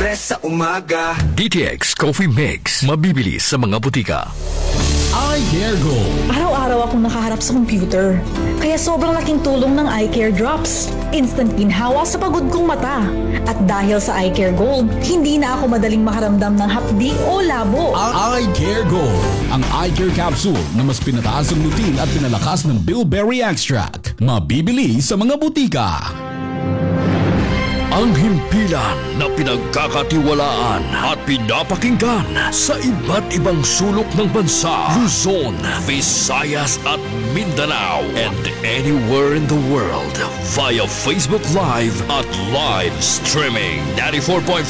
Fresh sa umaga. DTX Coffee Mix. Mabibili sa mga butika. Eye Care Gold. Araw-araw akong nakaharap sa computer. Kaya sobrang laking tulong ng Eye Care Drops. Instant ginhawa sa pagod kong mata. At dahil sa Eye Care Gold, hindi na ako madaling makaramdam ng hapdi o labo. Eye Care Gold. Ang Eye Care Capsule na mas pinataas ang lutein at pinalakas ng bilberry extract. Mabibili sa mga butika. Ang himpilan na pinagkakatiwalaan at pinapakinggan sa iba't ibang sulok ng bansa, Luzon, Visayas at Mindanao, and anywhere in the world via Facebook Live at live streaming. 94.5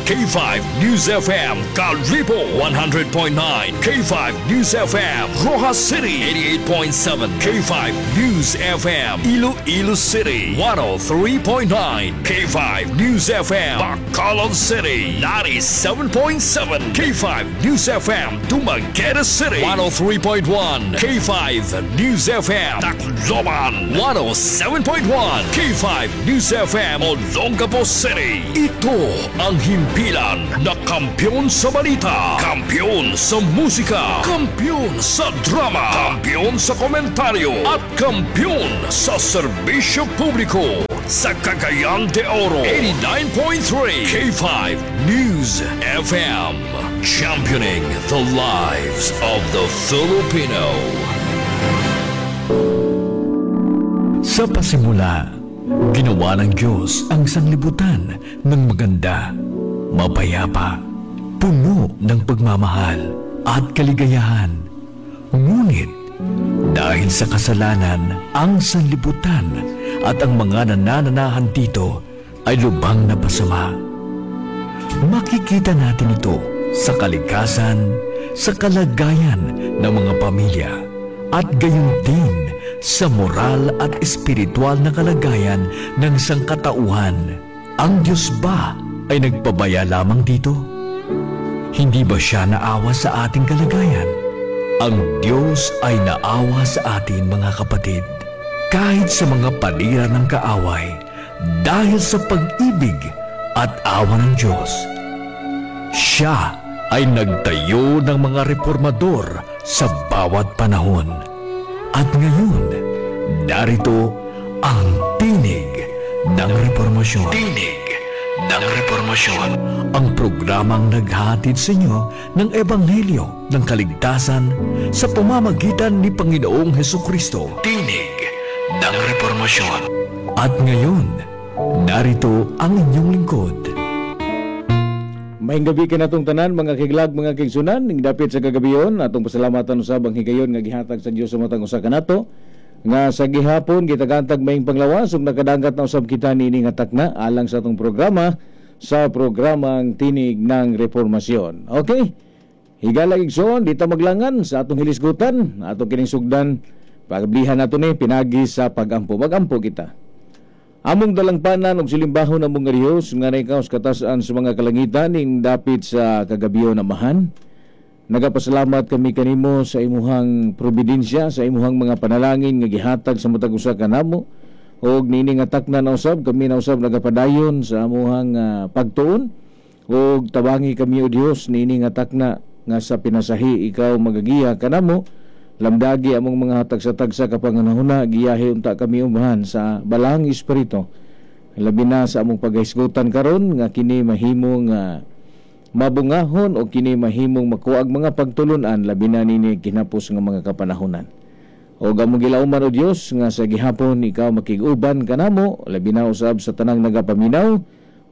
K5 News FM, Kalibo. 100.9 K5 News FM, Roxas City. 88.7 K5 News FM, Iloilo City. 103.9 K5 News FM, Bacolod City. 97.7 K5 News FM, Dumaguete City. 103.1 K5 News FM, Tacloban. 107.1 K5 News FM, Olongapo City. Ito ang himpilan na kampiyon sa balita, kampiyon sa musika, kampiyon sa drama, kampiyon sa komentaryo, at kampiyon sa serbisyo publiko. Sa Cagayan de Oro, 89.3 K5 News FM, championing the lives of the Filipino. Sa pasimula, ginawa ng Diyos ang sanglibutan ng maganda, mapayapa, puno ng pagmamahal at kaligayahan. Ngunit, dahil sa kasalanan, ang sanlibutan at ang mga nanananahan dito ay lubhang napasama. Makikita natin ito sa kalikasan, sa kalagayan ng mga pamilya, at gayon din sa moral at espiritual na kalagayan ng sangkatauhan. Ang Diyos ba ay nagpabaya lamang dito? Hindi ba siya naawa sa ating kalagayan? Ang Diyos ay naawa sa atin, mga kapatid, kahit sa mga panira ng kaaway, dahil sa pag-ibig at awa ng Diyos. Siya ay nagtayo ng mga reformador sa bawat panahon. At ngayon, narito ang Tinig ng Reformasyon. Tinig ng Reformasyon. Ang programang naghatid sa inyo ng Ebanghelyo ng Kaligtasan sa pamamagitan ni Panginoong Hesukristo. Tinig ng Reformasyon. At ngayon, narito ang inyong lingkod. Maayong gabii kanatong tanan, mga kiglag, mga kigsunan, ning dapit sa kagabion, atong pasalamatan usab ang higayon nga gihatag sa Dios sa matag usa kanato nga sa gihapon gitagantag maayong panglawas ug nakadanggat na usab kita niini nga takna alang sa atong programa, sa programang Tinig ng Reformasyon. Okay? Higala, igsoon, di ta maglangan sa atong hilisgutan, atong kining sugdan, pagablihan nato ni pinagi sa pagampo. Magampo kita. Among dalangpanan ug silimbahon among nga Dios nga ikaw sa katasan sa mga kalangitan, ning dapit sa kagabion, Amahan. Nagapasalamat kami kanimo sa imuhang providensya, sa imuhang mga panalangin nga gihatag sa matag usa kanamo. Og niini nga takna na usab kami na usab nagapadayon sa amuhang pagtuon, og tabangi kami, o Dios, niini nga takna nga sa pinasahi ikaw magagiya kanamo. Lamdagi among mga tagsa-tagsa kapanganahuna, giyahe unta kami, Amahan, sa Balaang Espiritu. Labi na sa among paghisgutan karon nga kini mahimong mabungahon o kini mahimong makuag mga pagtulunan, labi na nini kinapos nga mga kapanahonan. O among gilauman, o Dios, nga sa gihapon ikaw makig-uban kanamo, labi na usab sa tanang nagapaminaw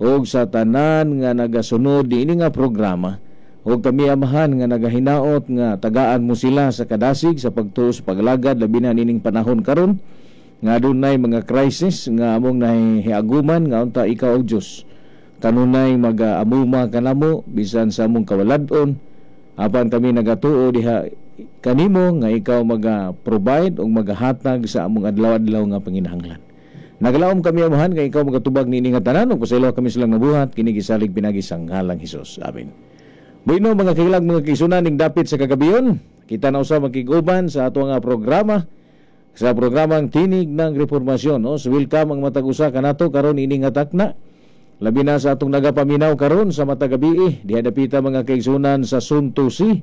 o sa tanan nga nagasunod niini nga programa. O kami, Amahan, nga nagahinaot nga tagaan mo sila sa kadasig, sa pagtuo, sa paglagad, labi na nining panahon karon nga adunay mga crisis nga among nahiaguman, nga unta ikaw, o Dios, kanunay magaamuma kanamo bisan sa among kawalad-on, apan kami nagatuo diha kanimo nga ikaw maga-provide o magahatag sa among adlaw-adlaw nga panginahanglan. Nagalaom kami, Amahan, nga ikaw magatubag niini nga tanan ug pasaylo kami silang nabuhat kini gisalig pinagi sa ngalang Hesus. Amen. Bueno, mga kahilag, mga kaigsunan, ning dapit sa kagabion, kita na usab makig-uban sa ato nga programa, sa programang Tinig ng Reformasyon. No? So welcome ang matag usa kanato karon ini nga takna. Labi na sa atong nagapaminaw karon sa matag gabi, diha dapita mga kaigsunan sa Suntusi,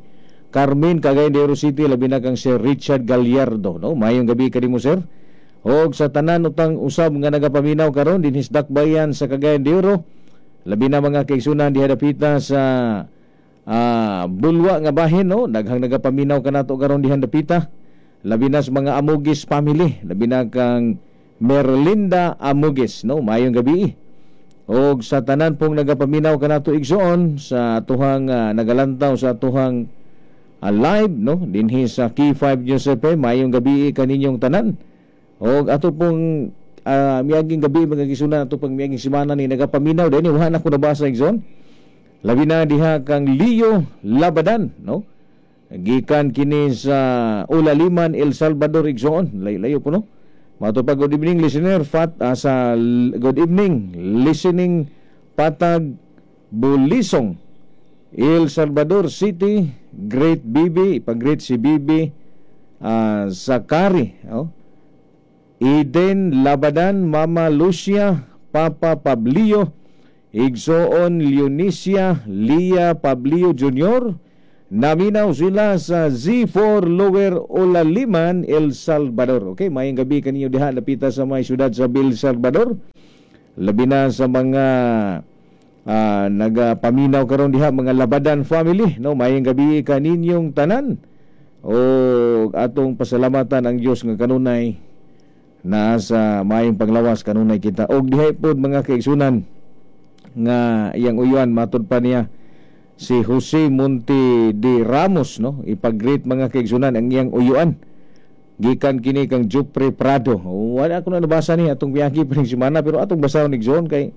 Carmen, Cagayan de Oro City, labi na kang Sir Richard Gallardo, no? Maayong gabi kanimo, sir. Og sa tanan utang usab nga nagapaminaw karon dinhi sa Dakbayan sa Cagayan de Oro, labi na mga kaigsunan diha dapita sa Bulwa nga bahin, no? Daghang nagapaminaw kanato karon diha dapita. Labi na sa mga Amugis family, labi na kang Merlinda Amugis, no? Maayong gabi. Og sa tanan pong nagapaminaw kanato igsoon sa atuhang nagalantaw sa atuhang live, no, dinhi sa K5 News FM, maayong gabi kaninyong tanan. Og ato pong miaging gabi mga kaigsunan, ato pong miaging semana ni nagapaminaw dinhi, wa na ko nabasa igsoon. Labi na diha kang Leo Labadan, no? Gikan kini sa Ulaliman, El Salvador igsoon. Layo po, no? Mato pa, good evening listener Fat sa good evening listening Patag Bulisong, El Salvador City. Great Bibi, ipag-greet si Bibi Zakari, oh. Eden Labadan, Mama Lucia, Papa Pablio, Igsoon Leonisia, Lia Pablio Jr. Naminaw sila sa Z4 Lower Olaliman, El Salvador. Okay, maayong gabi kaninyo diha napita sa may syudad sa El Salvador. Labi na sa mga nagapaminaw karon diha, mga Labadan family, no? Maayong gabi kaninyong tanan. O atong pasalamatan ang Dios nga kanunay naa sa maayong panglawas kanunay kita. Og diha pod mga kaigsunan nga iyang uyuan, matud pa niya si Jose Monte de Ramos, no? Ipag-greet mga kaigsunan ang iyang uyuan. Gikan kini kang Jupre Prado. Wala ako na nabasa ni atong biyaki pa ning semana, pero atong basahon igsoon kay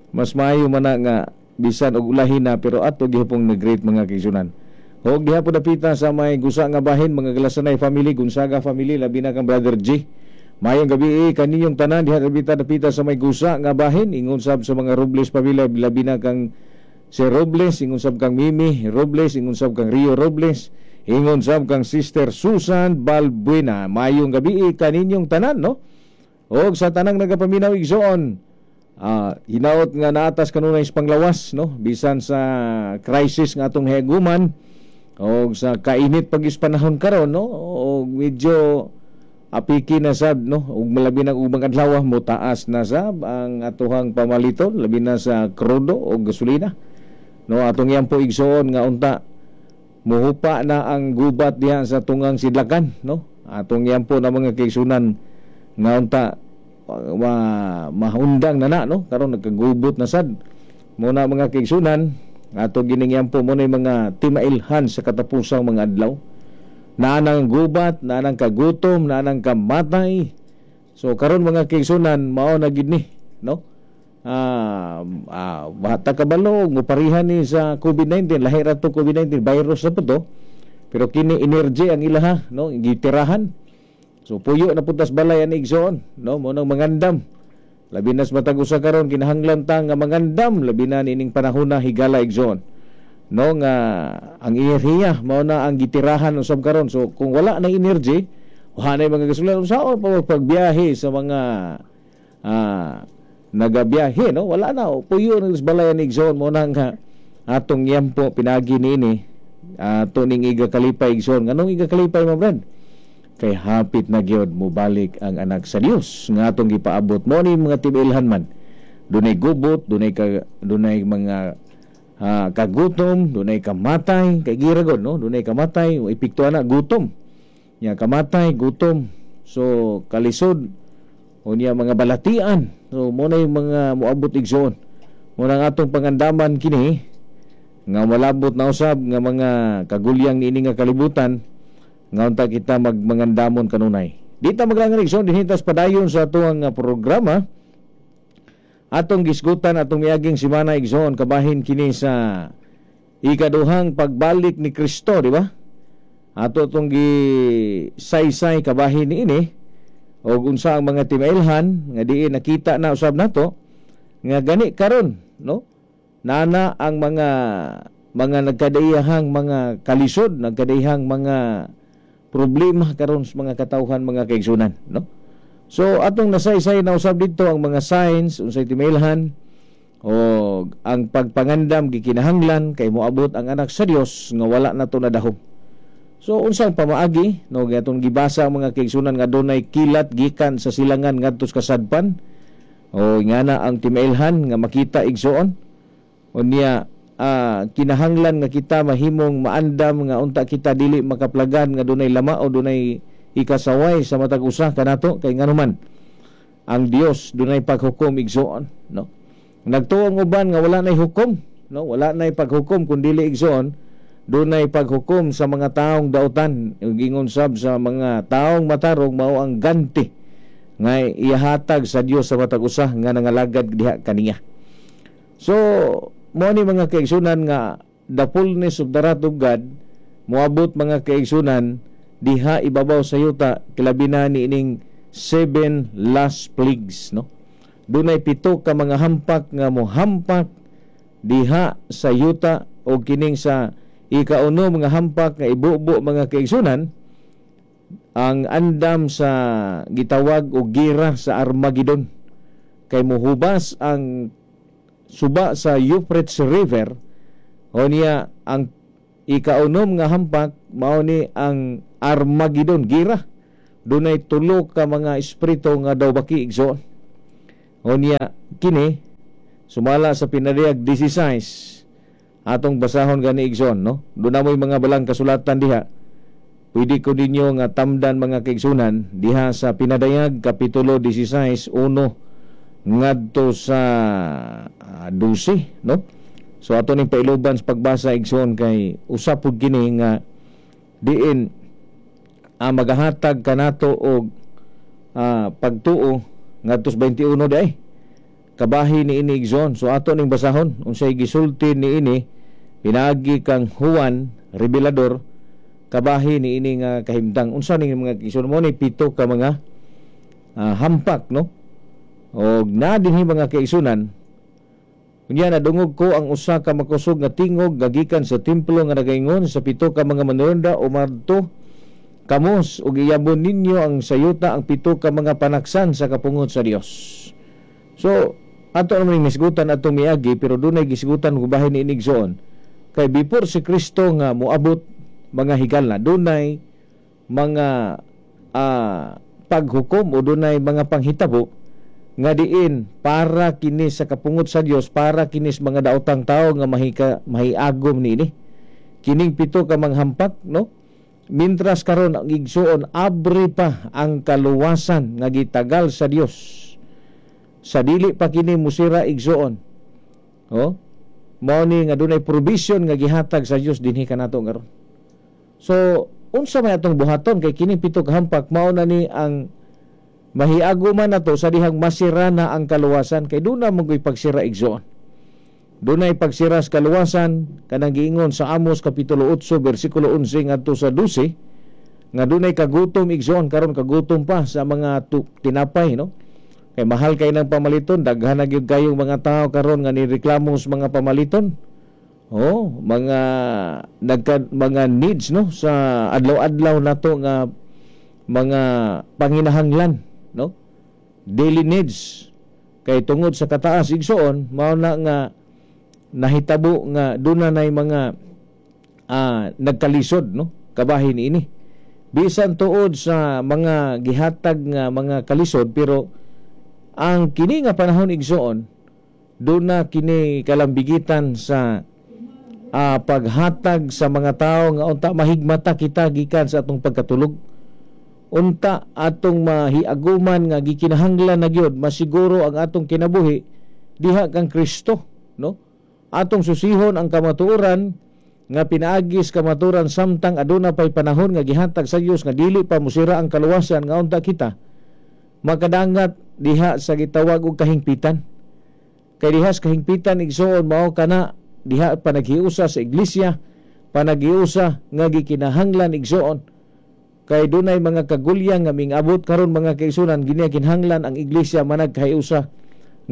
mas maayo man na nga bisan og ulahin na, pero ato gihapong nag-greet mga kaigsunan. Og diha po dapita sa may gusa nga bahin, mga Galasanay family, Gonzaga family, labi na kang Brother G. Maayong gabi kaninyong tanan diha dapita dapita sa may gusa nga bahin, ingon sab sa mga Robles pamilya, labi na kang si Robles, ingon sab kang Mimi Robles, ingon sab kang Rio Robles, ingon sab kang Sister Susan Balbuena. Maayong gabi kaninyong tanan, no? Og sa tanang nagapaminaw igsoon, hinaot nga naatas kanunay sa panglawas, no? Bisan sa crisis nga atong heguman og sa kainit pag panahon karon, no? Og medyo apiki na sad, no? Ug malabi na ubang adlaw mo taas na sab ang atuhang pamaliton, labi na sa krudo o gasolina, no? Atong yampo igsoon nga unta muhupa na ang gubat diha sa tungang sidlakan, no? Atong yampo na mga kaigsunan nga unta mahundang na na, no? Karon nagkagubot na sad mo na mga kaigsunan. Ato gining yampo mo na mga timailhan sa katapusang mga adlaw. Naanang gubat, naanang kagutom, naanang kamatay. So karon mga kaigsunan, mao na gid ni, no? Bata kabalo moparihan ni sa COVID-19, lahi ra to COVID-19, virus na po to. Pero kini energy ang ilaha, no? Gitirahan. So puyo na putas balay ani igsoon, no? Mo nang mangandam. Labi na sa matag usa karon kinahanglan ta nga mangandam, labi na nining panahon na higala igsoon, no? Nga ang enerhiya mao na ang gitirahan usab karon. So kung wala na energy, wala na mga gasolina, unsaon pa pagbiyahe sa mga nagabiyahe, no? Wala na, puyo na sa balay ni igsoon. Mo na nga atong yampo pinagi niini ato ning igakalipay igsoon. Nganong igakalipay mo, brad? Kay hapit na gyud mobalik ang anak sa Dios nga atong gipaabot mo ni mga tibilhan man. Dunay gubot, dunay dunay mga kagutom, dunay kamatay, kay gira gud, no? Dunay kamatay, epekto ana gutom. Nya kamatay, gutom. So kalisod unya mga balatian. So mo na yung mga moabot igsoon. Mo na ang atong pangandaman kini nga malabot na usab nga mga kagulyang niini nga kalibutan nga unta kita magmangandamon kanunay. Di ta maglangan igsoon, dinhi tas padayon sa atuang programa. Atong gisgutan atong miaging semana igsoon kabahin kini sa ikaduhang pagbalik ni Kristo, di ba? Ato tong gisaysay kabahin niini og unsa ang mga timailhan nga diin nakita na usab nato nga gani karon, no? Nana ang mga nagkadaiyahang mga kalisod, nagkadaiyahang mga problema karon sa mga katawhan, mga kaigsunan, no? So atong nasaysay na usab didto ang mga signs unsay timailhan O ang pagpangandam gikinahanglan kay moabot ang anak sa Dios nga wala na to nadahom. So unsang pamaagi, no, gatong gibasa ang mga kaigsunan nga dunay kilat gikan sa silangan ngadto sa kasadpan o ngana ang timailhan nga makita igsoon. Unya kinahanglan nga kita mahimong maandam nga unta kita dili makaplagan nga dunay lama o dunay ikasaway sa matag usa kanato, kay nganuman ang Dios dunay paghukom igsoon, no. Nagtuo ang uban nga wala nay hukom, no, wala nay paghukom kun dili igsoon dunay paghukom sa mga taong dautan. Gingon sab sa mga taong matarong mao ang ganti nga ihatag sa Dios sa matag usa nga nangalagad diha kaniya. So mo ni mga kaigsunan nga the fullness of the wrath of God moabot mga kaigsunan diha ibabaw sa yuta, kilabi na ni ining 7 last plagues, no. Dunay 7 ka mga hampak nga mohampak diha sa yuta, o kining sa ikauno mga hampak nga ibubo mga kaigsunan ang andam sa gitawag og gira sa Armageddon, kay mohubas ang suba sa Euphrates River. O niya ang ikaunom nga hampak mao ni ang Armageddon gira. Dunay 3 ka mga espiritu nga daw baki igsoon. O niya kini sumala sa Pinadayag 16 atong basahon gani igsoon, no. Duna moy mga balang kasulatan diha. Pwede ko ninyo nga tamdan mga kaigsunan diha sa Pinadayag kapitulo 16 1 ngadto sa 12, no. So ato ning pailuban sa pagbasa igsoon kay usa pud kini nga diin magahatag kanato og pagtuo ngadto sa 21 di kabahi ni ini igsoon. So ato ning basahon unsay gisulti ni ini pinaagi kang Juan Revelador kabahi ni ini nga kahimtang. Unsa ning mga igsoon mo ni 7 ka mga hampak, no. Og na dinhi mga kaigsunan, unya nadungog ko ang usa ka makusog nga tingog gagikan sa templo nga nagaingon sa 7 ka mga manunda, umadto kamos ug iyabon ninyo ang sayuta ang 7 ka mga panaksan sa kapungot sa Dios. So ato naman misgutan atong miagi, pero dunay gisgutan gubahin ni inigsoon kay before si Kristo nga moabot mga higal na dunay mga paghukom o dunay mga panghitabo nga diin para kini sa kapungot sa Dios, para kini sa mga daotang tao nga mahiagom niini kining 7 ka manghampak, no. Mintras karon ang igsuon abre pa ang kaluwasan nga gitagal sa Dios sa dili pa kini musira igsuon. Oh, mao ni nga dunay provision nga gihatag sa Dios dinhi kanato karon. So unsa may atong buhaton kay kining 7 ka hampak mao na ni ang mahiago man nato sa dihang masira na ang kaluwasan, kay doon na magoy pagsira igsoon. Dunay pagsira sa kaluwasan kanang giingon sa Amos kapitulo 8 bersikulo 11 ngadto sa 12 nga dunay kagutom igsoon. Karon kagutom pa sa mga tinapay, no, kay mahal kay nang pamaliton. Daghan na gyud kayong mga tao karon nga nireklamo sa mga pamaliton. Oh, mga mga needs, no, sa adlaw-adlaw nato nga mga panginahanglan, no, daily needs. Kay tungod sa kataas igsoon mao na nga nahitabo nga duna nay mga nagkalisod, no, kabahin ini bisan tuod sa mga gihatag nga mga kalisod, pero ang kini nga panahon igsoon duna kini kalambigitan sa paghatag sa mga tao nga unta mahigmata kita gikan sa atong pagkatulog, unta atong mahiaguman nga gikinahanglan na gyud masiguro ang atong kinabuhi diha kang Kristo, no. Atong susihon ang kamatuoran nga pinaagis kamatuoran samtang aduna pay panahon nga gihatag sa Dios nga dili pa musira ang kaluwasan, nga unta kita makadangat diha sa gitawag og kahingpitan. Kay diha sa kahingpitan igsoon mao kana diha panaghiusa sa iglesia, panaghiusa nga gikinahanglan igsoon. Kay dunay mga kagulyang nga mingabot karon mga kaigsunan, ginikinahanglan ang iglesia managkahiusa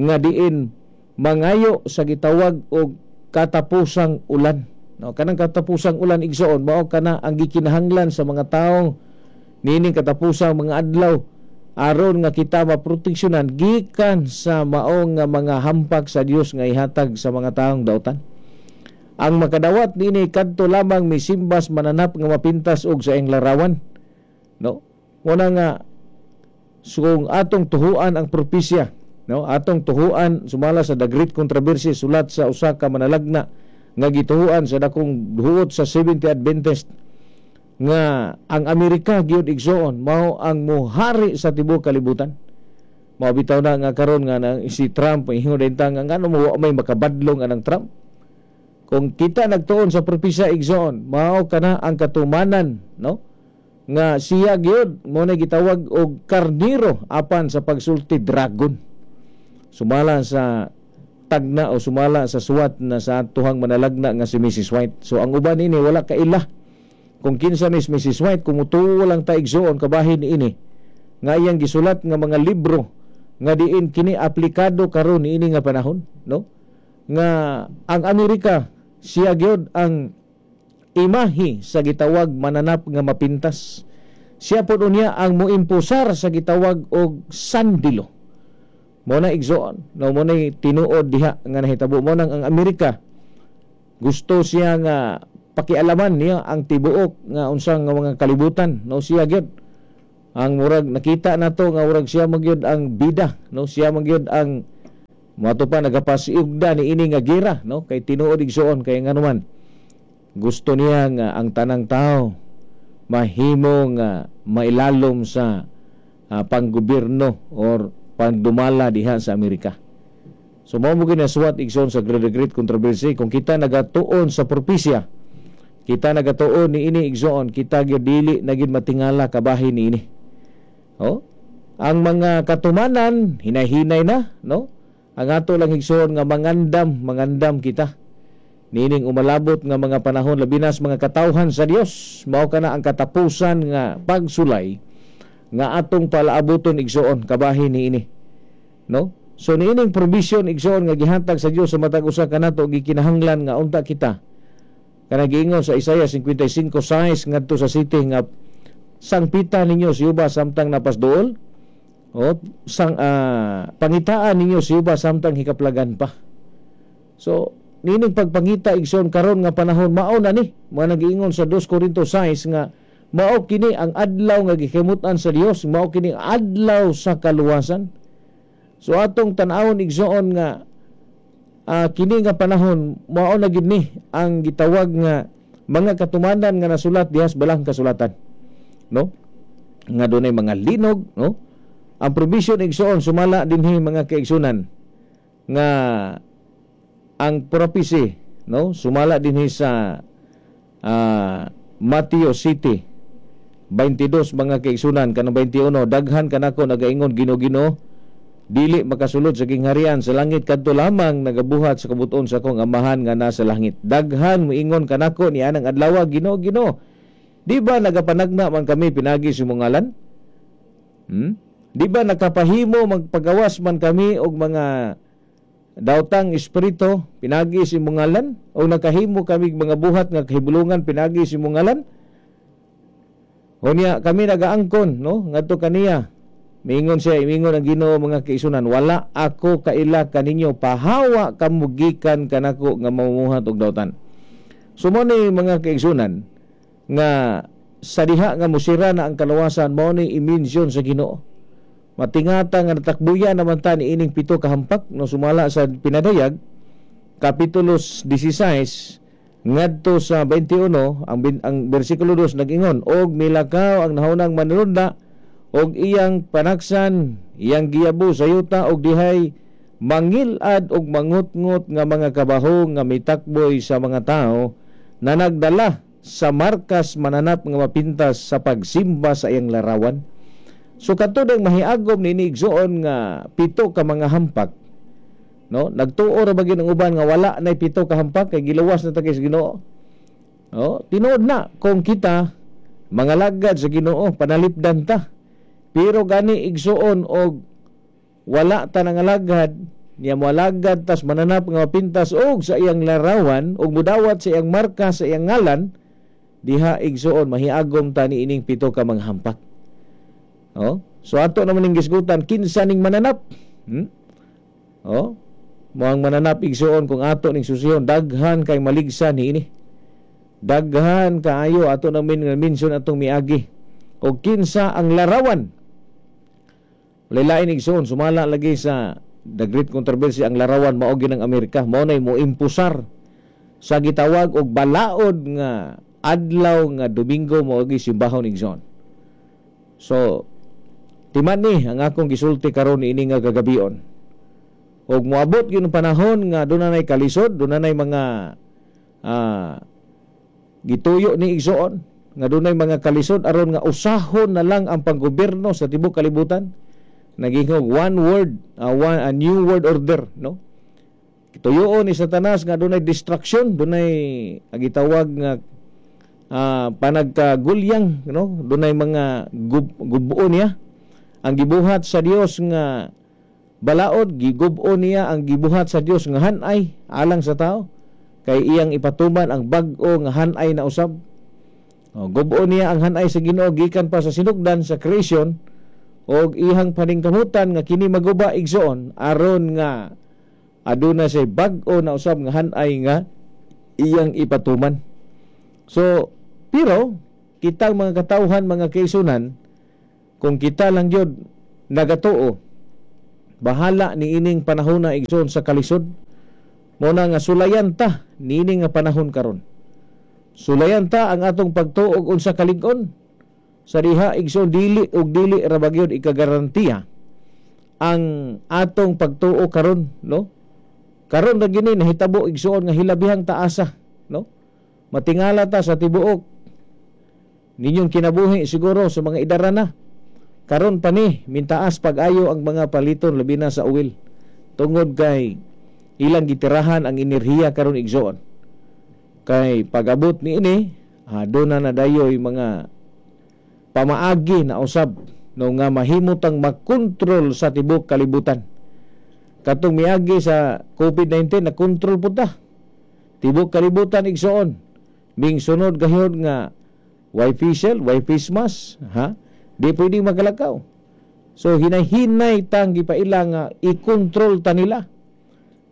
nga diin mangayo sa gitawag og katapusang ulan. No, kanang katapusang ulan igsoon mao kana ang gikinahanglan sa mga tawo niining katapusang mga adlaw aron nga kita maproteksyonan gikan sa maong nga mga hampak sa Dios nga ihatag sa mga taong dautan. Ang makadawat niini kadto lamang misimbas mananap nga mapintas og sa iyang larawan, no? Muna nga so, atong tuhuan ang propesya, no? Atong tuhuan sumala sa The Great Controversy, sulat sa usa ka manalagna nga gituhuan sa dakong huot sa Seventh-day Adventist, nga ang Amerika gyud, igsoon, mao ang muhari sa tibuok kalibutan. Mao bitaw na nga karon nga na, si Trump ingon din ta nga ngano mo may makabadlong anang Trump. Kung kita nagtuon sa propesya, igsoon, mao kana ang katumanan, no, nga siya gyud mo na gitawag og karniro, apan sa pagsulti dragon, sumala sa tagna o sumala sa suwat na sa atuhang manalagna nga si Mrs. White. So ang uban ini wala kaila kung kinsa ni Mrs. White. Kung mutuo lang ta, igsoon, kabahin ini nga iyang gisulat nga mga libro nga diin kini aplikado karon niini nga panahon, no, nga ang Amerika siya gyud ang imahe sa gitawag mananap nga mapintas. Siya pod unya ang moimpusar sa gitawag og sandilo. Mo na, igsoon, no, mo na tinuod diha nga nahitabo. Mo nang ang Amerika gusto siya nga pakialaman niya ang tibuok nga unsang nga mga kalibutan, no. Siya gyud ang murag nakita nato nga murag siya magyud ang bida, no, siya magyud ang moto pa nagapasiugda ni ini nga gira, no, kay tinuod, igsoon, kay nganuman gusto niya nga ang tanang tao mahimo nga mailalom sa panggobyerno or pangdumala diha sa Amerika. So mao mo ginasuwat, igsoon, sa Great Great Controversy. Kung kita nagatuon sa propesya, kita nagatuon ni ini, igsoon, kita gyud dili na gyud matingala kabahin ni ini. Oh, ang mga katumanan hinay-hinay na, no? Ang ato lang, igsoon, nga mangandam, mangandam kita niining umalabot nga mga panahon, labi na sa mga katawhan sa Dios. Mao kana ang katapusan nga pagsulay nga atong palaabuton, igsoon, kabahin ni ini, no? So niining provision, igsoon, nga gihatag sa Dios sa matag usa kanato, gikinahanglan nga unta kita kanang giingon sa Isaiah 55:6 ngadto sa 7 nga sangpita ninyo si Jehova samtang napasduol o sang pangitaan ninyo si Jehova samtang hikaplagan pa. So nining pagpangita, igsoon, karon nga panahon, mao na ni mga nagiingon sa 2 Corinto 6 nga mao kini ang adlaw nga gikimut-an sa Dios, mao kini adlaw sa kaluwasan. So atong tan-awon, igsoon, nga kini nga panahon mao na gid ni ang gitawag nga mga katumanan nga nasulat diha sa balang kasulatan, no, nga dunay mga linog, no? Ang provision, igsoon, sumala dinhi, mga kaigsunan, nga ang prophecy, no, sumala dinhi sa Mateo 7:22, mga kaigsunan, kanang 21: "Daghan kanako nagaingon, 'Ginoo, Ginoo,' dili makasulod sa gingharian sa langit, kadto lamang nagabuhat sa kabut-on sa akong Amahan nga nasa langit. Daghan moingon kanako nianang adlaw, 'Ginoo, Ginoo, di ba nagapanagna man kami pinagi sa imong ngalan? Di ba nakapahimo magpagawas man kami og mga daotang espiritu pinagi sa imong ngalan, o nakahimo kami mga buhat nga kahibulungan pinagi sa imong ngalan?' Unya kami nagaangkon, no, ngadto kaniya. Miingon siya, imingon ang Ginoo, mga kaigsunan, 'Wala ako kaila kaninyo, pahawa kamo gikan kanako nga mamumuhat og dautan.'" So mo ni, mga kaigsunan, nga sa diha nga musira na ang kalawasan, mao ni i-mention sa Ginoo. Matingata nga natakbuya naman ta ni ining pito kahampak, no, sumala sa Pinadayag kapitulo 16 ngadto sa 21. Ang bersikulo 2 nag-ingon, "Og milakaw ang nahunang manunudla og iyang panaksan, iyang giyabo sa yuta, og dihay mangilad og mangutngot nga mga kabahong nga mitakboy sa mga tao na nagdala sa markas mananap nga mapintas sa pagsimba sa iyang larawan." So kadto mahiagom ni igsoon nga pito ka mga hampak, no, nagtuo ra ba gyud ang uban nga wala nay pito ka hampak kay giluwas na ta kay sa Ginoo. Oh, tinuod na kung kita mga lagad sa Ginoo, panalipdan ta. Pero gani, igsuon, og wala ta nangalagad niya, moalagad tas mananap nga mapintas og sa iyang larawan og mudawat sa iyang marka sa iyang ngalan, diha, igsuon, mahiagom ta ni ining pito ka mga hampak. Oh, So ato naman ning gisgutan kinsa ning mananap. Oh, moang mananap igsuon kung ato ning susihon daghan kay maligsa niini. Daghan kaayo ato namin nga mention atong miagi. Og kinsa ang larawan. Lain igsuon sumala lagi sa The Great Controversy ang larawan mao gyud ang Amerika, mao nay mo impusar sa gitawag og balaod nga adlaw nga Domingo mao gyud simbahon igsoon. So timan ni ang akong gisulti karon niini nga gagabion. Og moabot gyud ang panahon nga dunay kalisod, dunay mga gituyo ni igsoon nga dunay mga kalisod aron nga usahon na lang ang panggobyerno sa tibuok kalibutan. Naging one word, a new world order, no? Tuyoon ni Satanas nga dunay destruction, dunay ang gitawag nga panagkagulyang, no? Dunay mga gubuon niya ang gibuhat sa Dios nga balaod, gigubuon niya ang gibuhat sa Dios nga hanay alang sa tao kay iyang ipatuman ang bag-o nga hanay na usab. O, gubuon niya ang hanay sa Ginoo gikan pa sa sinugdan sa creation og ihang paningkamutan nga kini maguba igsoon aron nga aduna say bag-o na usab nga hanay nga iyang ipatuman. So pero kitang mga katawhan, mga kaisunan, kung kita lang gyud nagatuo, bahala ni ining panahon na igsoon sa kalisod. Mo na nga sulayan ta niini nga panahon karon. Sulayan ta ang atong pagtuo og unsa kalig-on. Sa diha igsoon dili og dili ra ba gyud ikagarantiya ang atong pagtuo karon, no? Karon ra gini nahitabo igsoon nga hilabihang taasa, no? Matingala ta sa tibuok ninyong kinabuhi siguro sa mga idara na. Karon pa ni mintaas pag-ayo ang mga paliton labi na sa oil tungod kay ilang gitirahan ang enerhiya karon igsoon. Kay pag-abot niini, doon na nadayoy mga pamaagi na usab, no, nga mahimutang makontrol sa tibuok kalibutan. Katong miagi sa COVID-19 na kontrol pud ta tibuok kalibutan igsoon. Ming sunod gayud nga way facial, way face mask, ha? Di pwedeng magalakaw. So hinahinay tang gipaila nga i-control ta nila.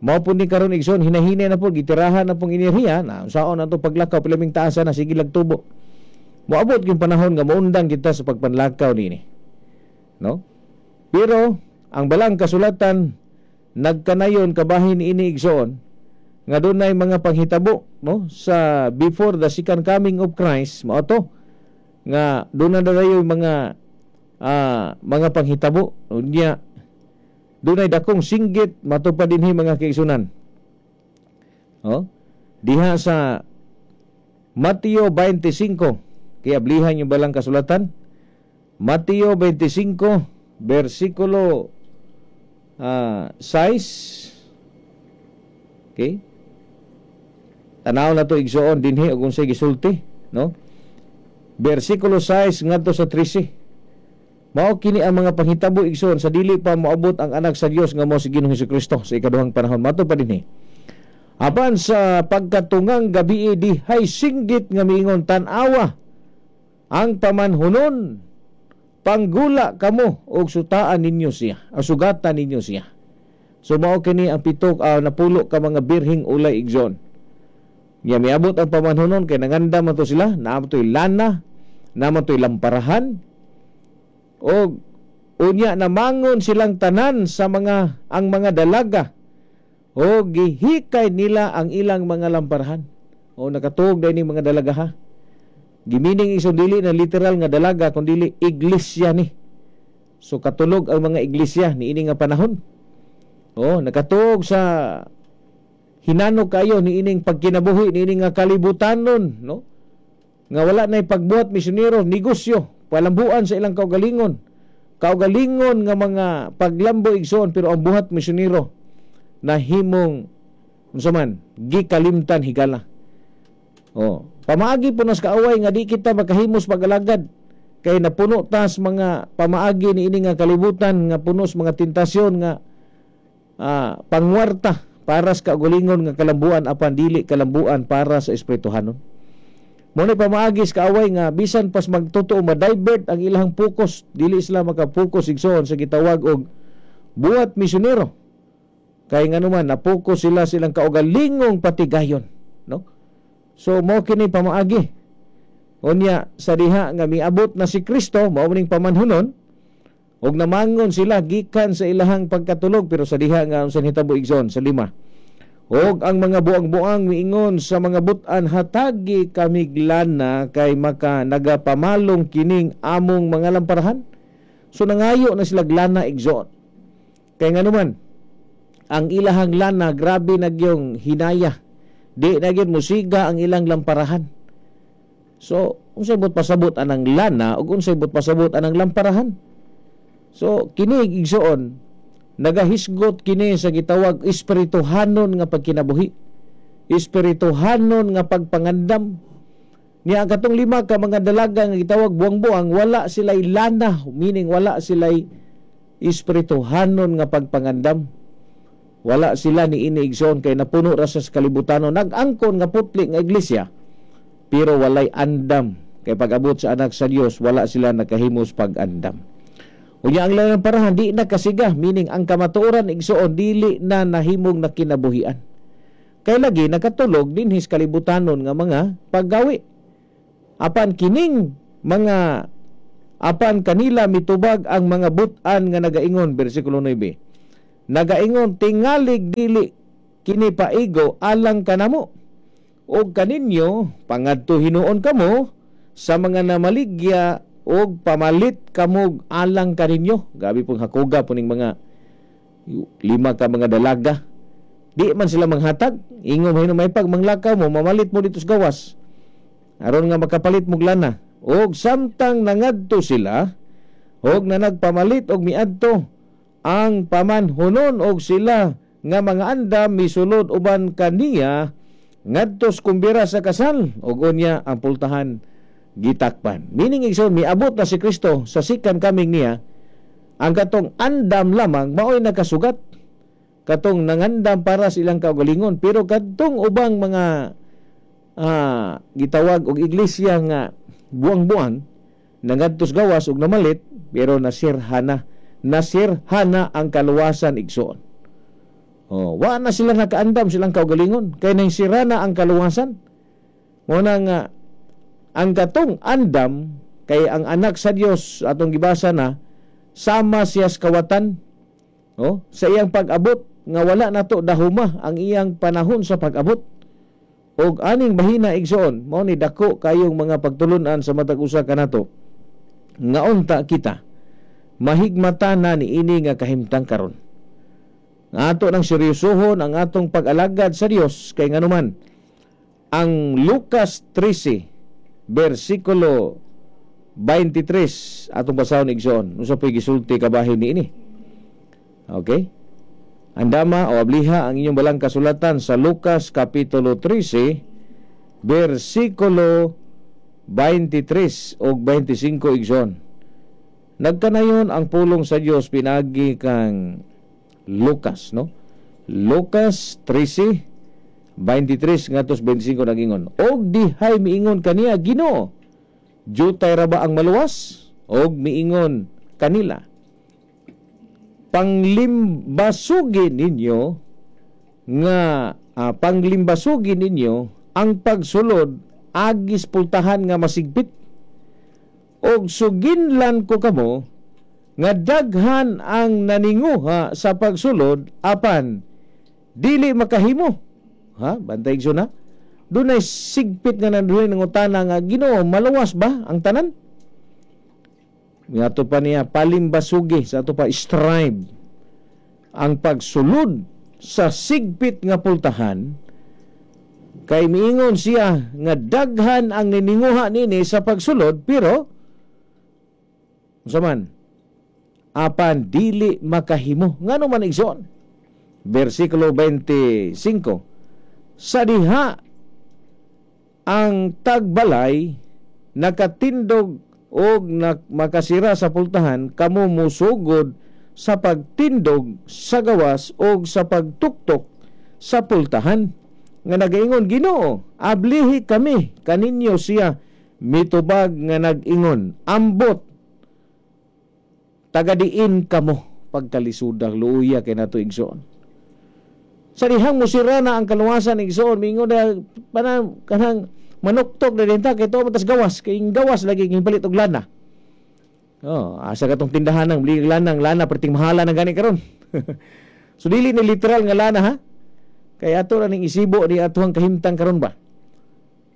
Mao pud ni karon igsoon hinahinay na pud gitirahan na pong enerhiya na unsaon ato paglakaw pilaming taasa na sige lagtubo. Moabot yung panahon nga moundang kita sa pagpanlakaw niini, no? Pero ang balang kasulatan nagkanayon kabahin niini igsoon nga dunay mga panghitabo, no, sa before the second coming of Christ. Mao to nga dunay dadayoy mga mga panghitabo. Unya dunay dakong singgit matupad dinhi mga kaigsunan. Oh, diha sa Mateo 25. Kaya ablihan yung balang kasulatan. Mateo 25 versikulo 6. Okay. Tanaw na to igsoon dinhi og unsay gisulti, no? Versikulo 6 ngadto sa 13. Mao kini ang mga panghitabo igsoon sa dili pa moabot ang anak sa Dios nga mao si Ginoong Hesukristo sa ikaduhang panahon. Mato pa dinhi. Apan sa pagkatungang gabi dihay singgit nga miingon, tan-awa ang pamanhunon, panggula kamo og sutaan ninyo siya, o sugatan ninyo siya. So mao kini ang pitok napulo ka mga birhing ulay igsoon. Nya miabot ang pamanhunon kay nanganda man to sila, naa man to'y lana, naa man to'y lamparahan. Og unya namangon silang tanan sa mga ang mga dalaga o gihikay nila ang ilang mga lamparahan. O nakatuog dahil ni mga dalaga ha. Gimining isong dili na literal nga dalaga kun dili iglesia ni. So katulog ang mga iglesia niini nga panahon. O nakatuog sa hinano kayo niining pagkinabuhi niini nga kalibutanon, no? Nga wala nay pagbuhat misyonero, negosyo, palambuan sa ilang kaugalingon. Kaugalingon nga mga paglambo igsoon pero ang buhat misyonero nahimong unsa man gikalimtan higala. Oh, pamaagi po nas kaaway nga di kita makahimos pag-alagad kay napuno tas mga pamaagi niini nga kalibutan nga puno sa mga tentasyon nga pangwarta para sa kaugalingon nga kalambuan apan dili kalambuan para sa espirituhanon. Mo ni pamaagis kaaway nga bisan pas magtotoo ma-divert ang ilang focus, dili sila maka-focus, igsoon, sa gitawag og buhat misyonero. Kay nganuman na-focus sila silang kaugalingong patigayon, no? So mo kini pamaagi. Unya sa diha nga miabot na si Kristo, mao ning pamanhunon, og namangon sila gikan sa ilahang pagkatulog, pero sa diha nga unsa nahitabo, igsoon, sa 5. Og ang mga buang-buang miingon sa mga butan, hatagi kamig lana kay maka nagapamalong kining among mga lamparahan. So nangayo na sila lana, igsoon. Kay nganuman ang ilahang lana grabe na gyung hinaya. Di na gyud musiga ang ilang lamparahan. So unsay but pasabot anang lana ug unsay but pasabot anang lamparahan? So kini, igsoon, nagahisgot kini sa gitawag espirituhanon nga pagkinabuhi, espirituhanon nga pagpangandam. Niya ang katong 5 ka mga dalaga nga gitawag buang-buang, wala sila'y lana, meaning wala sila'y espirituhanon nga pagpangandam. Wala sila ni ini, igsoon, kay napuno ra sa kalibutanon, nag-angkon nga putli nga iglesia, pero walay andam. Kay pag-abot sa anak sa Dios, wala sila nakahimos pag-andam. Unya ang lang parahan di na kasiga, meaning ang kamatuoran, igsoon, dili na nahimong nakinabuhian. Kay lagi nakatulog dinhis kalibutanon nga mga paggawi. Apan kining mga apan kanila mitubag ang mga butan nga nagaingon, bersikulo 9. Nagaingon, tingalig dili kini paigo alang kanamo og kaninyo, pangadto hinuon kamo sa mga namaligya og pamalit kamog alang kaninyo. Gabi pong hakuga po ning mga 5 ka mga dalaga. Di man sila manghatag. Ingon mo may pag manglakaw mo, mamalit mo dito sa gawas aron nga makapalit mo lana. Og samtang nangadto sila og nanagpamalit og miadto ang pamanhunon, og sila nga mga andam misulod uban kaniya ngadto sa kumbira sa kasal, og unya ang pultahan gitakpan. Meaning, igsoon, miabot na si Kristo sa sikan kaming niya, ang katong andam lamang maoy nakasugat, katong nangandam para sa ilang kaugalingon, pero kadtong ubang mga gitawag og iglesia nga buang-buang nangadtos gawas og namalit, pero nasirhana ang kaluwasan, igsoon. Oh, wa na sila nakaandam silang kaugalingon kay nasira na ang kaluwasan. Mo na nga ang katong andam kay ang anak sa Dios atong gibasa na sama siya sa kawatan, oh, sa iyang pag-abot nga wala nato dahuma ang iyang panahon sa pag-abot. Og aning bahina, igsoon, mao ni dako kayong mga pagtulun-an sa matag usa kanato nga unta kita mahigmata na ni ini nga kahimtang karon. Nga ato nang seryosohon ang atong pag-alagad sa Dios, kay nganuman ang Lucas 13 bersikulo 23 atong basahon, igsoon, unsa po'y gisulti kabahin niini. Okay? Andama o abliha ang inyong balang kasulatan sa Lucas kapitulo 13 bersikulo 23 og 25, igsoon. Nagkanayon ang pulong sa Dios pinagi kang Lucas, no? Lucas 13:23 ngadto 25 nagingon. Og dihay miingon kaniya, Ginoo, jutay ra ba ang maluwas? Og miingon kanila, panglimbasugi ninyo nga panglimbasugi ninyo ang pagsulod agis pultahan nga masigpit. Og suginlan ko kamo nga daghan ang naninguha sa pagsulod apan dili makahimo. Ha, bantay igsoon na. Dunay sigpit nga nanduhay ng utana nga, Ginoo, maluwas ba ang tanan? Nga pa niya palimbasugi sa ato pa strive ang pagsulod sa sigpit nga pultahan, kay miingon siya nga daghan ang nininguha nini sa pagsulod, pero unsa man apan dili makahimo. Ngano man, igsoon? Bersikulo 25, sa diha ang tagbalay nakatindog og makasira sa pultahan, kamo musugod sa pagtindog sa gawas og sa pagtuktok sa pultahan. nga nagaingon, "Ginoo, ablihi kami kaninyo?" Siya mitubag nga nag-ingon, "Ambot, tagadiin kamo." Pagkalisudag, luya kay nato, igsoon. Sa dihang musira na ang kaluwasan, igsoon, mingon na pana kanang manuktok na din ta kay tuo tas gawas, kay gawas lagi gipalit og lana. Oh, asa katong tindahan ng bili lana, lana perting mahala na gani karon. So dili ni literal nga lana ha. Kay ato ra ning isibo ni atuang kahimtang karon ba.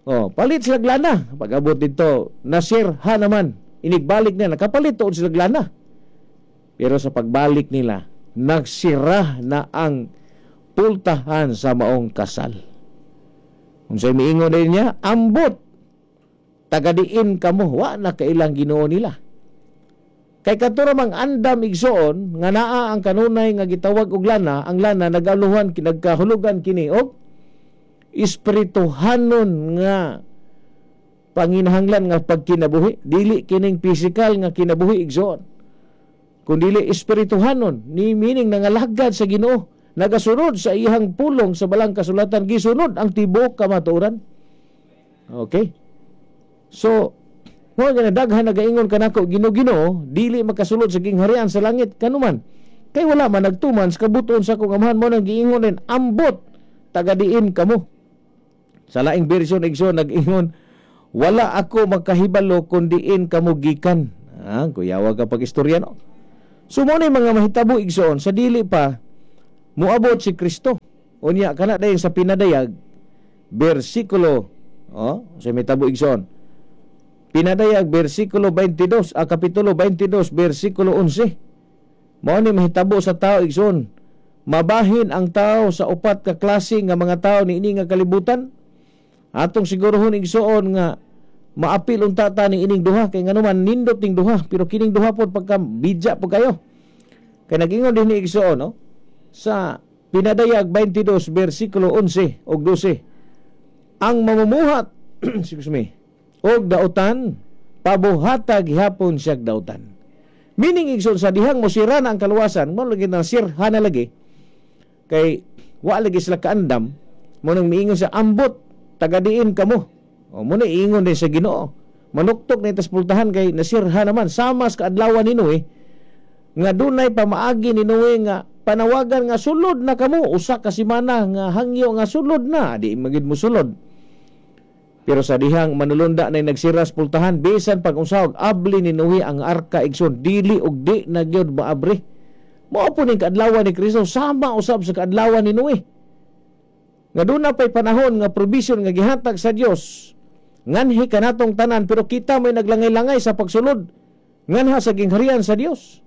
Oh, palit sila lana. Pag-abot dito, nasir ha naman. Inigbalik na, nakapalit tuod sila lana. Pero sa pagbalik nila, nagsira na ang pultahan sa maong kasal. Unsay miingon din niya? "Ambot, tagadiin kamo." Wa na kailang Ginoo nila. Kay kato mang andam, igsoon, nga naa ang kanunay nga gitawag og lana, ang lana nagaluhan, nagkahulugan kini og espirituhanon nga panginahanglan nga pagkinabuhi. Dili kining physical nga kinabuhi, igsoon, kun dili espirituhanon, ni meaning nangalagad sa Ginoo, nagasunod sa iyang pulong sa balang kasulatan, gisunod ang tibuok kamatuoran. Okay, so mo nga daghan nagaingon kanako, "Ginoo, Ginoo," dili makasulod sa gingharian sa langit, kanuman kay wala man nagtuman sa kabuton sa akong Amahan. Mo nang giingon din, "Ambot, tagadiin kamo." Sa laing version, igsoon, nag-ingon, "Wala ako makahibalo kun diin kamo gikan." Ah, kuyawa ka pag istorya, no? So mo ni mga mahitabo, igsoon, sa dili pa moabot si Kristo. Unya kana dayon sa Pinadayag bersikulo, oh, sa mitabo, igsoon. Pinadayag bersikulo 22, ah, kapitulo 22 bersikulo 11. Mao ni mahitabo sa tao, igsoon. Mabahin ang tao sa upat ka klase nga mga tao niini nga kalibutan. Atong sigurohon, igsoon, nga maapil unta ta ni ining duha, kay nganuman nindot ning duha, pero kining duha pod pagka bidya po kayo. Kay nagingon din ni igsoon, no? Sa Pinadayag 22 bersikulo 11 ug 12. Ang mamumuhat, excuse me, og dautan, pabuhata gihapon siyag dautan. Meaning, igsoon, sa dihang mosira na ang kaluwasan, mo lagi na sirha na lagi, kay wa lagi sila kaandam. Mo nang miingon sa, "Ambot, tagadiin kamo." O mo na iingon din sa Ginoo. Manuktok na itas pultahan kay nasirha naman, sama sa kaadlawan ni Noe, nga dunay pamaagi ni Noe nga panawagan nga sulod na kamo, usa ka semana nga hangyo nga sulod na, di magid mo sulod. Pero sa dihang manulunda na nagsiras pultahan, bisan pag unsawag abli ni Noe ang arka, igsoon, dili og di na gyud maabri. Mao po ning kaadlawan ni Kristo, sama usab sa kaadlawan ni Noe. Nga doon na pa'y panahon nga provision nga gihatag sa Dios nganhi kanatong tanan, pero kita may naglangay-langay sa pagsulod nganha sa gingharian sa Dios.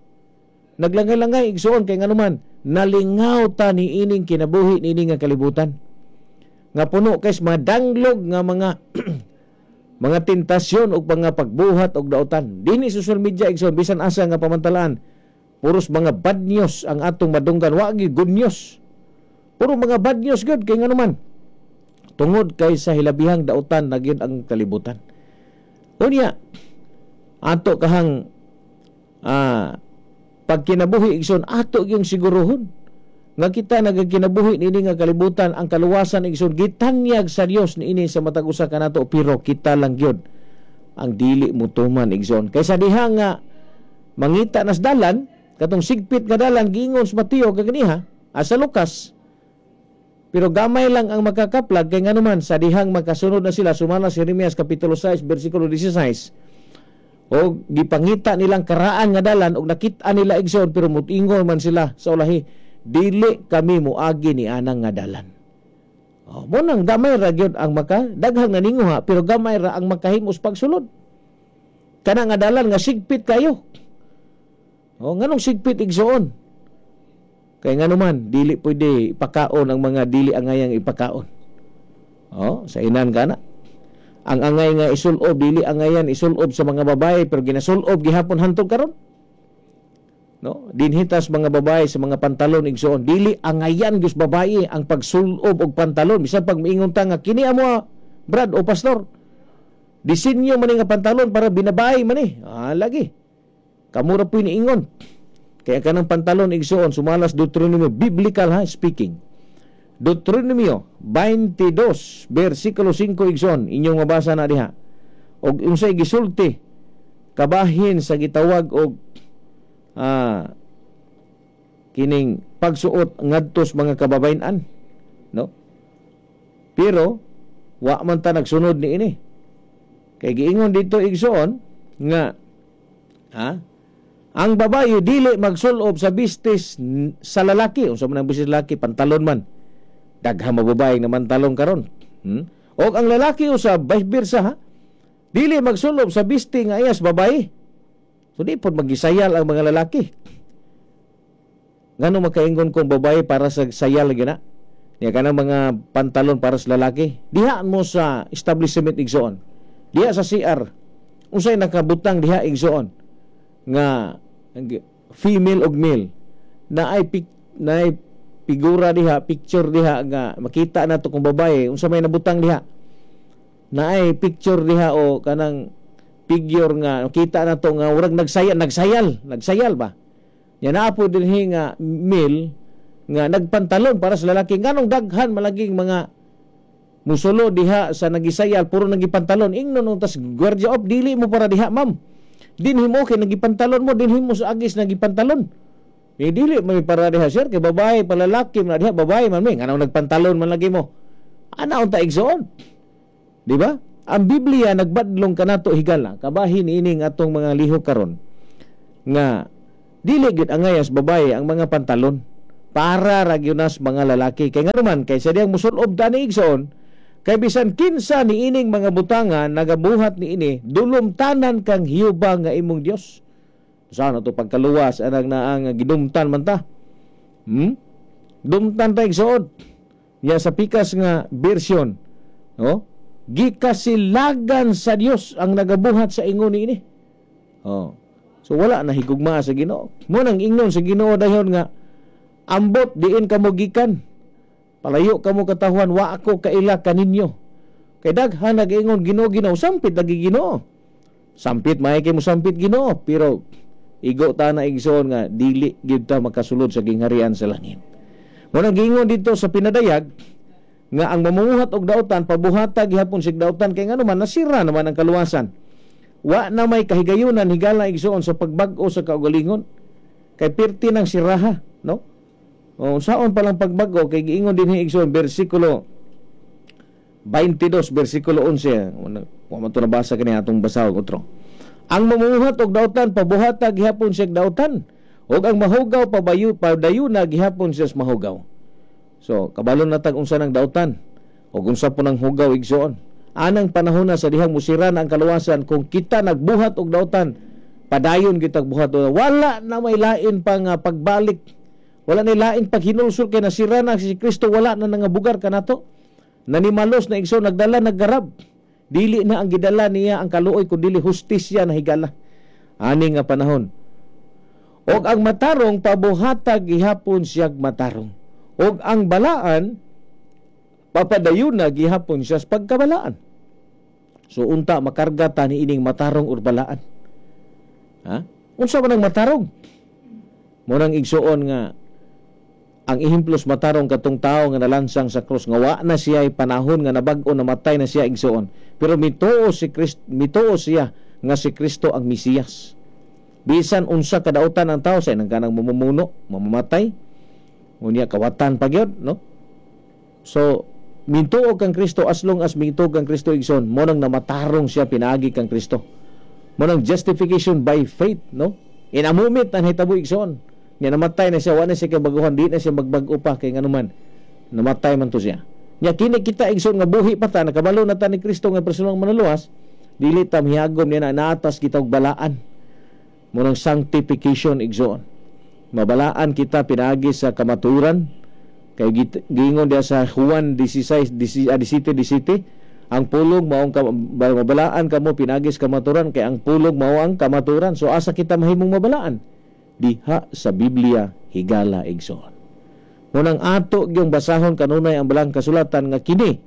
Naglangay-langay, igsoon, kay nganuman nalingaw ta ni ining kinabuhi niini nga kalibutan nga puno kay madanglog nga mga mga tentasyon ug mga pagbuhat og dautan. Dinhi social media, igsoon, bisan asa nga pamantalaan, puros mga bad news ang atong madunggan, wa gyud good news. Puro mga bad news gyud, kay nganuman tungod kay sa hilabihang dautan na gyud ang kalibutan. Unya ato kahang pagkinabuhi, igsoon, ato yung siguruhon nga kita nagakinabuhi niini nga kalibutan. Ang kaluwasan, igsoon, gitanyag sa Dios niini sa matag usa kanato, pero kita lang gyud ang dili mutuman, igsoon. Kay sa diha nga mangita nas dalan, katong sigpit nga dalan, giingon sa Mateo kaganiha, sa Lucas, pero gamay lang ang makakaplag, kay nganuman sa dihang makasunod na sila sumala si Jeremias kapitulo 6 bersikulo 16, o gipangita nilang karaan nga dalan og nakita nila, igsoon, pero mutingon man sila sa ulahi, "Dili kami muagi ni anang nga dalan." Oh, mo nang gamay ra gyud ang maka daghang naninguha, pero gamay ra ang makahimos pagsulod kana nga dalan nga sigpit kayo. Oh, nganong sigpit, igsoon? Kay nganuman dili pwede ipakaon ang mga dili angayang ipakaon. Oh, sa inan kana ang angay nga isulob, dili angayan isulob sa mga babae, pero ginasulob gihapon hantod karon, no? Dinhitas mga babae sa mga pantalon, igsoon, dili angayan gyud babae ang pagsulob og pantalon, bisan pag miingon ta nga kini amo brad o pastor, disenyo man nga pantalon para binabae man ni, ah, lagi kamura po niingon. Kaya kanang pantalon, igsoon, sumalas Deuteronomy, biblical ha speaking, Deuteronomio 22 versikulo 5, igsoon, inyong mabasa na diha. Og unsay gisulti kabahin sa gitawag og kining pagsuot ngadto sa mga kababayen-an, no? Pero wa man ta nagsunod niini. Kay giingon dito, igsoon, nga ang babaye dili magsulob sa bistis sa lalaki. Unsa man ang bistis lalaki? Pantalon man. Daghang mababae nga mantalon karon. Og ang lalaki usab, vice versa, ha? Dili magsulob sa bisti nga iyas babae. So di pod magisayal ang mga lalaki. Ngano makaingon kong babae para sa sayal lagi na? Niya kanang mga pantalon para sa lalaki. Diha mo sa establishment, igsoon. Diha sa CR. Unsay nakabutang diha, igsoon, nga female og male na ay na ay figura diha, picture diha nga makita na to kung babae. Unsa may nabutang diha? Na ay picture diha o kanang figure nga makita na to nga urag nagsayal, nagsayal, nagsayal ba? Nya naa po dinhi nga male nga nagpantalon para sa lalaki. Nganong daghan malaging mga musulo diha sa nagisayal puro nagipantalon? Ingnon tas gwardiya op, dili mo para diha, ma'am. Dinhi mo kay nagipantalon mo, dinhi mo sa agis nagipantalon. Eh, dili may para diha, sir, kay babae palalaki man diha, babae man may nganong nagpantalon man lagi mo. Ana unta, igsoon. Di ba? Ang Biblia nagbadlong kanato, higala kabahin ining atong mga lihok karon nga dili gyud angayas babae ang mga pantalon, para ra gyud nas mga lalaki. Kay ngano man, kay sa diyang musulob tani, igsoon, kay bisan kinsa ni ining mga butangan nagabuhat ni ini, dulumtanan kang Hiuba nga imong Dios. Sana to pagkaluwas anang naang gidumtan man ta. Dumtan ta, igsoon. Ya sa pikas nga version, no? Gikasilagan sa Dios ang nagabuhat sa ingon niini. Oh. So wala na higugma sa Ginoo. Mo nang ingnon sa Ginoo dayon nga ambot diin kamo gikan. Palayo kamo katahuan, wa ako kaila kaninyo. Kay daghan nagaingon, "Ginoo, Ginoo," sampit lagi Ginoo. Sampit may kay mo sampit Ginoo, pero igo ta na, igsoon, nga dili gyud ta makasulod sa gingharian sa langit. Mo nang giingon dito sa pinadayag nga ang mamumuhat og dautan pabuhata gihapon sig dautan, kay ngano man, nasira naman ang kaluwasan. Wa na may kahigayunan, higala, igsoon, sa pagbag-o sa kaugalingon. Kay pirti ng siraha, no? O saon pa lang pagbag-o? Kay giingon dinhi, igsoon, versikulo 22 versikulo 11. Wa man to nabasa kani, atong basahon otro. Ang mamumuhat og dautan pabuhata gihapon siya dautan, ug ang mahugaw pabayu padayuna gihapon siya sa mahugaw. So kabalo na tag unsa nang dautan ug unsa po nang hugaw, igsoon. Anang panahon na sa dihang musira na ang kaluwasan kung kita nagbuhat og dautan, padayon kitag buhat, wala na may lain pa nga pagbalik. Wala na lain paghinulsol kay nasira na si Kristo, wala na nangabugar kanato. Nanimalos na, igsoon, nagdala naggarab. Dili na ang gidala niya ang kaluoy kun dili hustisya na, higala. Ani nga panahon. Og ang matarong pabuhata gihapon siyag matarong. Og ang balaan papadayon na gihapon siya sa pagkabalaan. So unta makarga ta ni ining matarong or balaan. Ha? Unsa man ang matarong? Mo nang, igsuon, nga ang ehemplos matarong katong tao nga nalansang sa krus nga wa na siya panahon nga nabag-o, namatay na siya, igsuon. Pero mituo si Kristo, mituo siya nga si Kristo ang Mesiyas. Bisan unsa kadautan ang tao sa nang kanang mamumuno, mamamatay, unya kawatan pa gyud, no? So mintuo kang Kristo, as long as mintuo kang Kristo, igsoon, mo nang namatarong siya pinaagi kang Kristo. Mo nang justification by faith, no? In a moment ang hitabo, igsoon. Nya namatay na siya, wa na siya kabaguhan, di na siya magbag-o pa kay nganuman namatay man to siya. Nya kini kita, igsoon, nga buhi pa ta, nakabalo na ta ni Kristo nga personal manuluwas, dili ta mihagom niya na naatas kita og balaan. Mo nang sanctification, igsoon. Mabalaan kita pinaagi sa kamaturan kay giingon diya sa Juan 16 17 17, ang pulong mao ang mabalaan kamo pinaagi sa kamaturan kay ang pulong mao ang kamaturan. So asa kita mahimong mabalaan? Diha sa Biblia, higala, igsoon. Munang ato gyung basahon kanunay ang balang kasulatan nga kini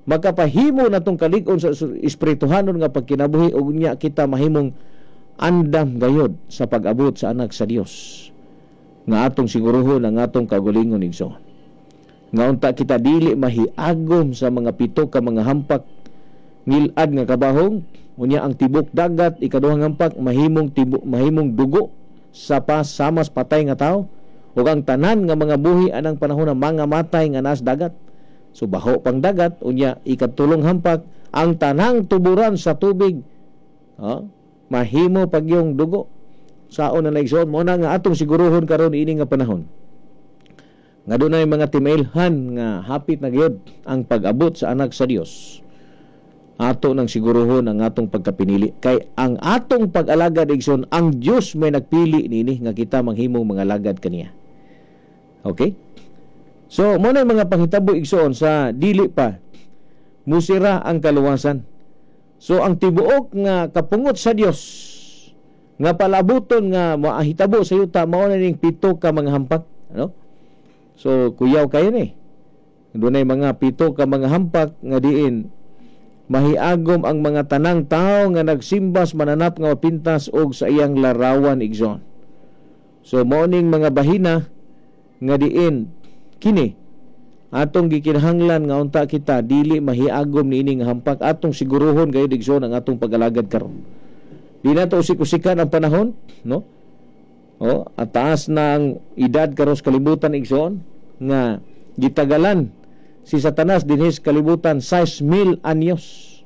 makapahimo natong kalig-on sa espirituhanon nga pagkinabuhi ug nya kita mahimong andam gayod sa pag-abot sa anak sa Dios nga atong siguruhon ang atong kaugalingon, igsoon. Nga unta kita dili mahiagom sa mga pito ka mga hampak ngilad nga kabahong. Unya ang tibok dagat, ikaduhang hampak, mahimong dugo sa pasamas patay nga tao, ug ang tanan nga mga buhi anang panahon na mga matay nga naas dagat. So baho pang dagat. Unya ikatulong hampak, ang tanang tuburan sa tubig, mahimo pagyong dugo. Saon na naigsoon mo na nga atong siguruhon karon ini nga panahon nga dunay mga timailhan nga hapit na gyud ang pag-abot sa anak sa Dios. Ato nang siguruhon ang atong pagkapinili, kay ang atong pag-alagad igsoon, ang Dios may nagpili niini nga kita manghimong mga alagad kaniya. Okay? So mo na mga panghitabo igsoon sa dili pa musira ang kaluwasan. So ang tibuok nga kapungot sa Dios nga palabuton nga mahitabo sa yuta, mao na ning pito ka mga hampak, ano? So kuyaw kayo ni. Dunay mga pito ka mga hampak nga diin mahiagom ang mga tanang tao nga nagsimbas mananap nga mapintas og sa iyang larawan igsoon. So mao ning mga bahina nga diin kini atong gikinahanglan nga unta kita dili mahiagom niini nga hampak. Atong siguruhon gayud igsoon ang atong pag-alagad karon. Di nato usik-usikan ang panahon, no? O, at taas na ang edad karon sa kalibutan igsoon nga gitagalan si Satanas dinhi sa kalibutan 6,000 anyos.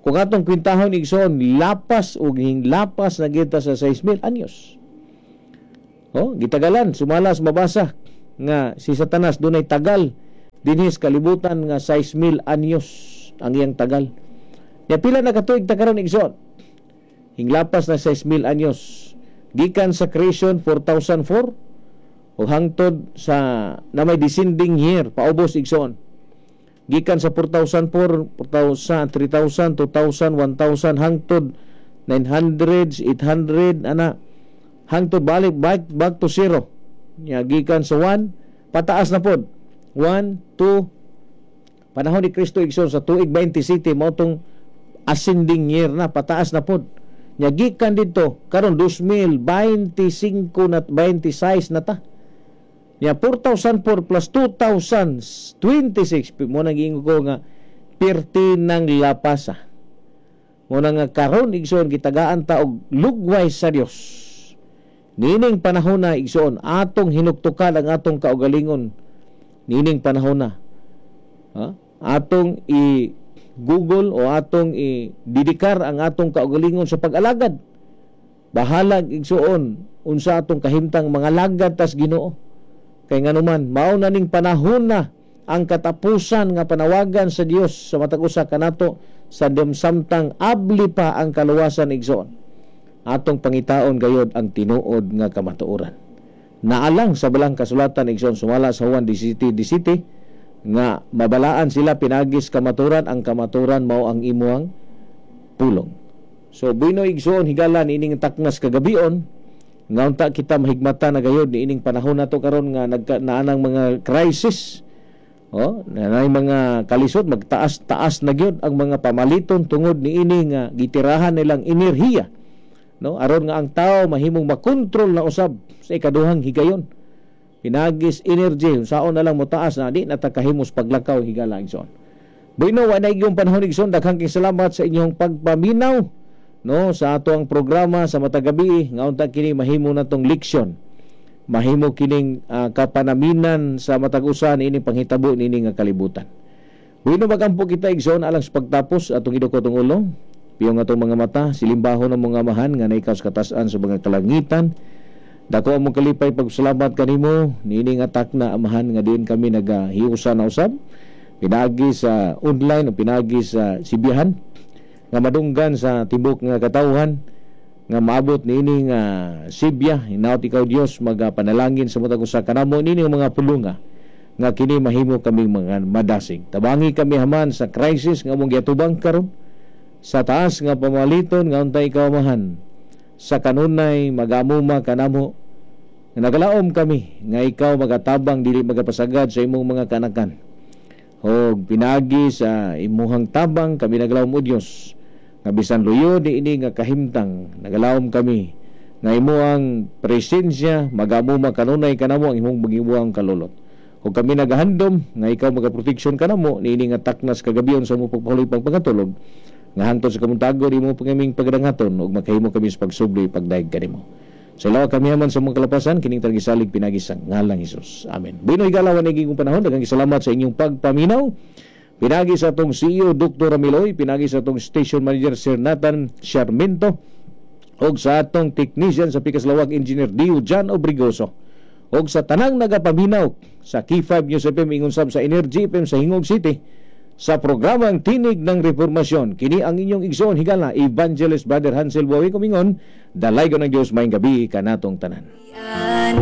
Kung atong kwintahon igsoon, lapas og lapas na kita sa 6,000 anyos. O, gitagalan sumalas mabasa nga si Satanas dunay tagal dinhi sa kalibutan nga 6,000 anyos ang iyang tagal. Ya pila na katuig ta karon igsoon? Hinglapas na 6,000 anyos. Gikan sa creation 4004 o hangtod sa na may descending year paubos igsoon. Gikan sa 4004, 4000, 3000, 2000, 1000 hangtod 900, 800 ana hangtod balik back to zero. Ya gikan sa 1 pataas na pod. 1, 2 panahon ni Kristo igsoon sa tuig 20 city mao tong ascending year na pataas na pod. Nya gikan didto karon 2025 na 26 na ta. Nya 4004 plus 2026 mo nang giingon ko nga pirti ng lapasa. Mo na nga karon igsoon gitagaan ta og lugway sa Dios. Nining panahon na igsoon atong hinuktukan ang atong kaugalingon. Nining panahon na, ha? Atong i Google o atong i-dedikar ang atong kaugalingon sa pag-alagad. Bahalag igsoon unsa atong kahimtang mga lagad tas Ginoo. Kay nganuman mao na ning panahon na ang katapusan nga panawagan sa Dios sa matag usa kanato sa samtang abli pa ang kaluwasan igsoon. Atong pangitaon gayod ang tinuod nga kamatuoran. Naalang sa balang kasulatan igsoon sumala sa Juan 17:17 nga mabalaan sila pinagis kamaturan, ang kamaturan mao ang imuang pulong. So bueno igsoon higalan ining taknas kagabion nga unta kita mahigmata na gayod niining panahon nato karon nga naanang mga crisis. Oh, naanay mga kalisod, magtaas-taas na gyud ang mga pamaliton tungod niini nga gitirahan nilang enerhiya, no? Aron nga ang tao mahimong makontrol na usab sa ikaduhang higayon. Pinagis energy, saon na lang motaas na di natakahimos paglakaw higala igsoon. Bueno, wa na igyong panahon igsoon, daghang kay salamat sa inyong pagpaminaw, no, sa ato ang programa sa matag gabi nga unta kini mahimo natong leksyon. Mahimo kining kapanaminan sa matag usa niining panghitabo niini nga kalibutan. Bueno, magampo kita igsoon alang sa pagtapos atong idukot ang ulo, piyong atong mga mata, silimbahon ang mga amahan nga naikaw sa katasan sa mga kalangitan. Dako among kalipay pagsalamat kanimo niini nga takna amahan nga diin kami nagahiusa na usab pinaagi sa online o pinaagi sa sibihan nga madunggan sa tibok nga katawhan nga maabot niini nga sibya. Hinaut ikaw Dios magapanalangin sa matag usa kanamo niini mga pulunga nga kini mahimo kaming mga madasig. Tabangi kami haman sa crisis nga among giatubang karon sa taas nga pamaliton nga untay ikaw amahan sa kanunay magamuma kanamo. Nagalaom kami nga ikaw magatabang dili magapasagad sa imong mga kanakan. Og pinagi sa imuhang tabang kami nagalaom o Dios nga bisan luyo niini nga kahimtang nagalaom kami nga imuhang presensya magamuma kanunay kanamo ang imong magibuang kalulot. Ug kami nagahandom nga ikaw magaproteksyon kanamo niini nga taknas kagabion sa among pagpahuloy pang pangatulog nga hangtod sa kamuntagon imo pangaming pagdangaton ug makahimo kami sa pagsubli pagdayeg kanimo. Sa ilawa kami man sa mga kalapasan kining tagisalig pinagi sa ngalang Hesus. Amen. Bueno, higalawan naging panahon, daghang salamat sa inyong pagpaminaw. Pinagi sa atong CEO Dr. Ramiloy, pinagi sa atong station manager Sir Nathan Sharminto, og sa atong technician sa Pikas Lawag Engineer Dio John Obrigoso, og sa tanang nagapaminaw sa K5 News FM ingon sab sa Energy FM sa Hingog City sa programang Tinig ng Reformasyon. Kini ang inyong igsoon higala, Evangelist Brother Hansel Buawi kumingon, dalaygon ng Dios, maayong gabi kanatong tanan.